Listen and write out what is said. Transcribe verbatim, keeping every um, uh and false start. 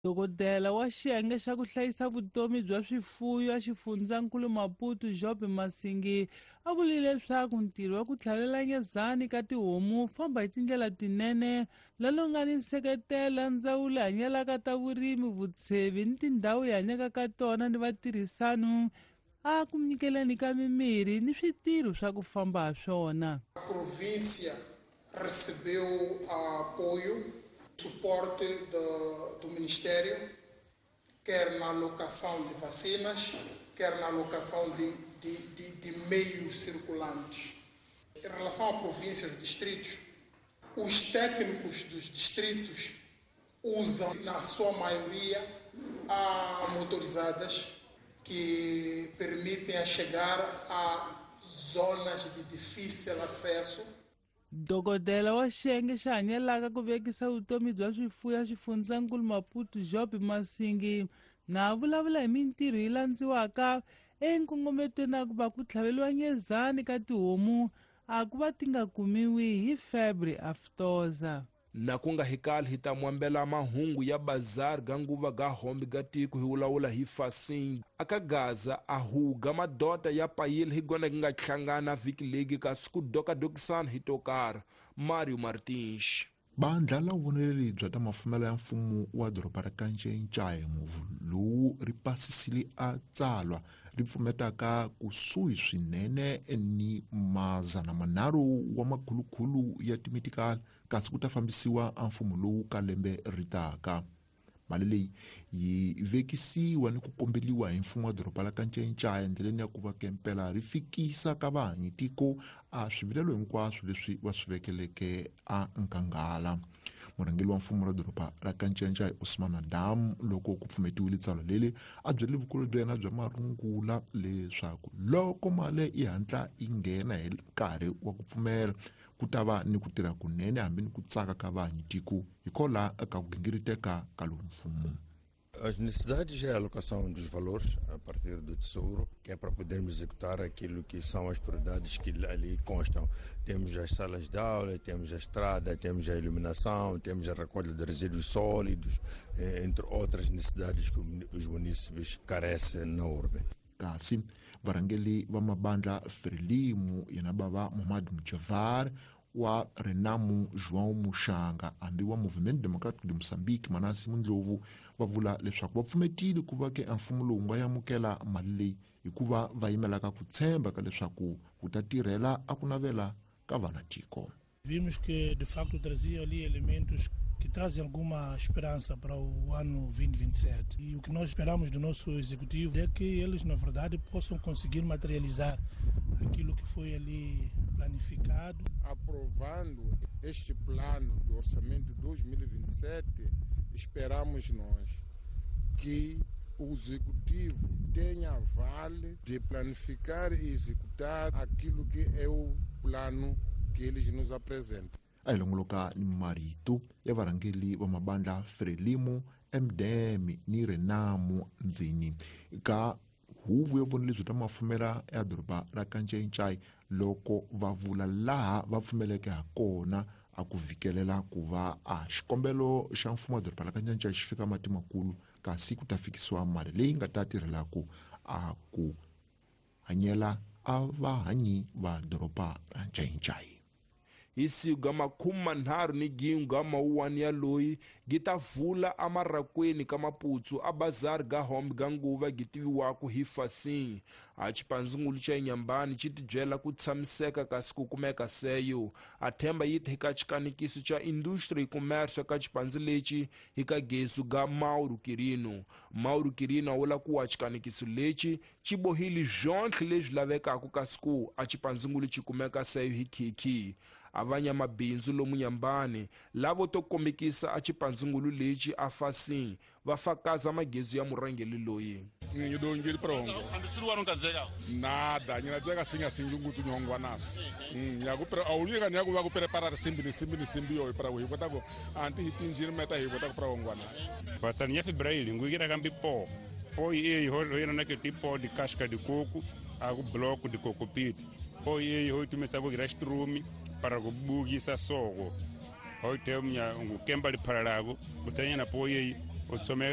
Dokodela wa xiyenge xa ku hlayisa vutomi bya swifuwo a xifundzankulu Maputo Job Masingi a vurile leswaku ntirho wa ku tlhavela nyezani ka tihomu famba hi tindlela tinene lalo nga ni nseketelo ndzawulo hanyelaka ta vurimi vutshevi ni tindhawu hi hanyaka ka tona ni vatirhisano a ku nyikeleni ka mimirhi ni switirho swa ku famba ha swona. A província recebeu apoio, suporte do, do Ministério, quer na alocação de vacinas, quer na alocação de, de, de, de meios circulantes. Em relação à província e aos distritos, os técnicos dos distritos usam, na sua maioria, a motorizadas que permitem a chegar a zonas de difícil acesso. Dokodela wa xiyenge xa hanyelaka ku vekisa vutomi bya swifuwo ya xifundzankulu Maputo Job Masingi na vulavula hi mintirho yi landziwaka enkongometweni na ku va ku tlhaveliwa nyezani ka tihomu a ku va ti nga kumiwi hi febre aftosa. Na ku nga hikali hi ta mwambela mahungu ya bazar ga nguva ga hombi ga tiko hi wulawula hi fasing aka Gaza a huga madota ya payile hi gona nga hlangana vhiki legi kasi ku dokadokisana hi tokara. Mario Martins. Bandla la vuvoneleli bya ta mafumelo ya mfumo wa doroba ra Kanchenchaye muvu lowu ri pasisile a tsalwa ri pfumetaka kusuhi swinene ni mazana manharhu wa makhulukhulu ya timitikali kasi ku ta fambisiwa a mfumo lowu ka lembe ri taka. Mali leyi yi vekisiwa ni ku kombeliwa hi mfumo wa doroba la Kanchenchaye endleleni ya ku va kempela ri fikisa ka vahanyi tiko a swivilelo hinkwaswo leswi va swi vekeleke a nkanghala. Murhangeri wa mfumo ra doroba ra Kanchenchaye Osman Adam loko ku pfumetiwile tsalwa leri a byele vukulu bya yena bya marungula leswaku loko mali yi hatla yi nghena hi nkarhi wa ku pfumela ku ta va ni ku tirha kunene hambi ni ku tsaka ka vahanyi tiko hikola ka ku gingiriteka ka lowu mfumo. As necessidades é a alocação dos valores a partir do Tesouro, que é para podermos executar aquilo que são as prioridades que ali constam. Temos as salas de aula, temos a estrada, temos a iluminação, temos a recolha de resíduos sólidos, entre outras necessidades que os munícipes carecem na urbe. Kasi varhangeri va mabandla Frelimo yena bava Mohamed Mjavar wa Renamu João Muxanga hambi wa Movimento Democrático de Moçambique Manasi Mundlovu va vula leswaku va pfumetile ku va ke mfumo lowu nga amukela mali leyi hikuva va yimelaka ku tshemba ka leswaku ku ta tirhela a ku navela ka vana tiko. Vimos que de facto trazia ali elementos que trazem alguma esperança para o ano vinte e vinte e sete. E o que nós esperamos do nosso executivo é que eles, na verdade, possam conseguir materializar aquilo que foi ali planificado. Aprovando este plano do orçamento dois mil e vinte e sete, esperamos nós que o executivo tenha vale de planificar e executar aquilo que é o plano que eles nos apresentam. A hi longoloka ni marito ya varhangeri va mabandla Frelimo, M D M ni Renamu ndzeni ka huvo ya vonelo bya ta mafumela ya doroba ra Kanchenchaye loko va vula laha va pfumeleke ha kona a ku vikelela ku va a xikombelo xa mfumo wa doroba ra Kanchenchaye xi fika mati makulu kasi ku ta fikisiwa mali leyi nga ta tirhelaku a ku hanyela a vahanyi va doroba ra Nchainchai. Hi siku ga makume manharhu ni gin'we ga mawuwani ya loyi gi ta vula emarakweni ka Maputsu a bazari ga hombe ga nguva gi tiviwaka hi Fasing. A xipandzingulu xa Inyambani xi tibyela ku tshamiseka kasi ku kumeka seyo. A themba yi ti ka xikanikiso xa industry commerce ka xipandzi lexi hi ka gesu ga Mauro Quirino. Mauro Quirino a vula ku wa xikanikiso lexi xi bohile byonhle leswi lavekaka kasi ku a xipandzingulu xi kumeka seyo hi khikhi. Avanya mabindzu lomu Nyambani lavo to kombekisa a xipandzingulu lexi a Fasing va fakaza magezu ya murhangeri loyi. Ngidongile prongo. Nada, nyinadzeka singa sinjungutu nyongwa naso. Mm, ya ku pre awulika nya ku va ku prepara simbi ni simbi ni simbi yo para hi kota ku anti hi tinjini meta hi kota ku prongwa na. Batani ya febraili ngugira kambi po. Po e ho ho na ke tipo de casca de coco, a ku bloco de coco pit. Po e ho tumesa ku grastrumi para kubugisa soko. Ho temnya ngukemba liphalalago kutanya na po e O tsomeka.